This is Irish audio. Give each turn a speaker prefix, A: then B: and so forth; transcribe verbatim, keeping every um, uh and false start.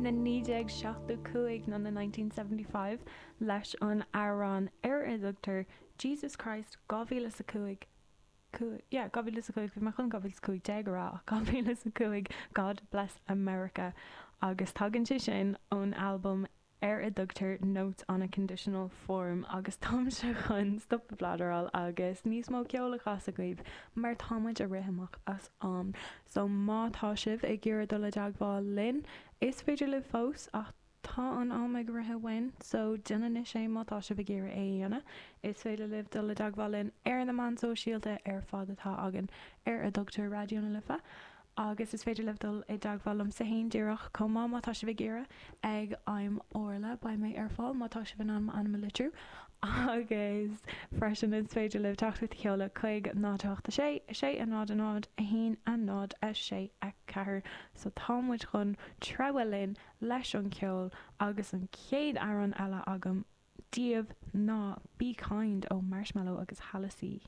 A: na naoi déag seachtó cúig nó na nineteen seventy five leis an amhrán ar a dtugtar Jesus Christ dhá mhíle is a cúig cúig yeah dhá mhíle is a cúig bhí mé chun dhá mhíle is a cúig déag a rá ach dhá mhíle is a cúig God Bless America agus tagann sé sin ón albam ar a dtugtar Notes on a Conditional Form agus táimse chun stop ag bladráil agus níos mó ceoil a chasadh daoibh mar tá muid ag rith amach as am. So má tá sibh ag iarraidh dul i dteagmháil linn, is féidir libh fós ach tá an am ag rith uainn so déan anois é má tá sibh ag iarraidh é a dhéanamh. Is féidir libh dul i dteagmháil linn ar na meáin sóisialta ar fad atá againn ar a dtugtar Raidió na Life. Agus is féidir libh dul i dteagmháil liomsa féin díreach chomh maith má tá sibh ag iarraidh, ag I'm Orla, beidh mé ar fáil má tá sibh in ann m'ainm a litriú. Agus freisin is féidir libh teachtaireacht a sheoladh chuig náid a hocht a sé, a sé a náid a náid, a haon a náid a sé a ceathair. So tá muid chun treabhadh linn leis an cheol agus an chéad amhrán eile agam daoibh ná Be Kind ó Marshmello agus Halsey.